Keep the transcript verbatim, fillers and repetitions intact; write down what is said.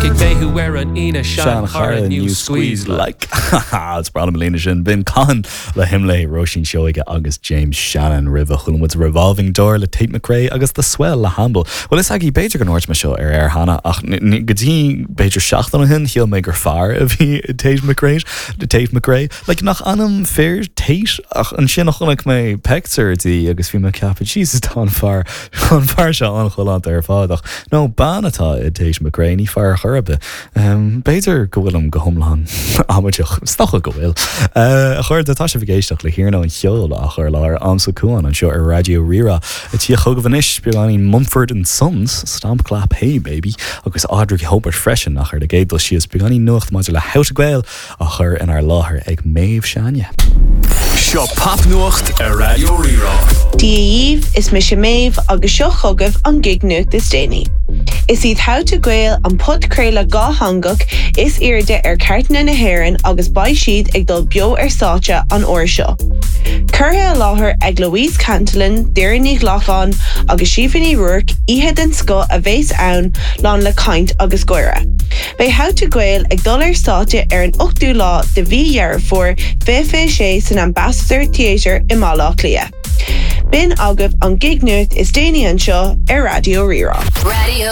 Feicfidh mé thú ar an Aoine Seanchara new squeeze like Is breá liom an líne sin b'in Cahan le hImlé Róisín Seoige agus James Shannon roimhe chuala muid Revolving Door le Tate McRae agus The Swell le Hamble. Well is agaí b'fhéidir go ndúirt mé seo ar air cheana ach go dtí b'fhéidir seachtain ó shin shíl mé gur fear a bhí Tate McRae Tate McRae like nach ainm fir Tate ach ansin a chonaic mé pictiúr di agus bhí mé ag ceapadh Jesus tá an fear an fear seo an-chalánta ar fad ach nó bean atá i Tate McRae ní fear chor ar bith. Um, B'fhéidir go bhfuilim go hiomlán amaideach stocha go bhfuil. Uh, a chairde tá sibh ag éisteacht le hiarnóin cheoil á chur láthair amsa cuan anseo ar Raidió Rí-Rá a tí chugaibh anois beagáinín Mumford and Sons Stomp Clap Hey Baby agus Audrey Hobart freisin ach ar an gcéad dul síos beagáinín nuacht maidir le How to Gael á chur inár láthair ag Méabh Seáine. Seo popnuacht ar Raidió Rí-Rá. Dia dhaoibh is mise Méabh agus seo chugaibh an gig-nuacht is déanaí. Is iad How to Gael an podchraoladh dátheangach is airde ar chairteanna na hÉireann agus beidh siad ag dul beo ar stáitse an uair seo. Curtha i láthair ag Louise Cantillon, Doireann Ní Ghlacáin agus Síomha Ní Ruairc oíche den scoth a bheas ann lán le caint agus gáire. Beidh How to Gael ag dul ar stáitse ar an ochtú lá de mhí Dheireadh Fómhair fiche fiche sé san Ambassador Theatre i mBaile Átha Cliath. B'in agaibh an gig-nuacht is déanaí anseo ar Raidió Rí-Rá. Radio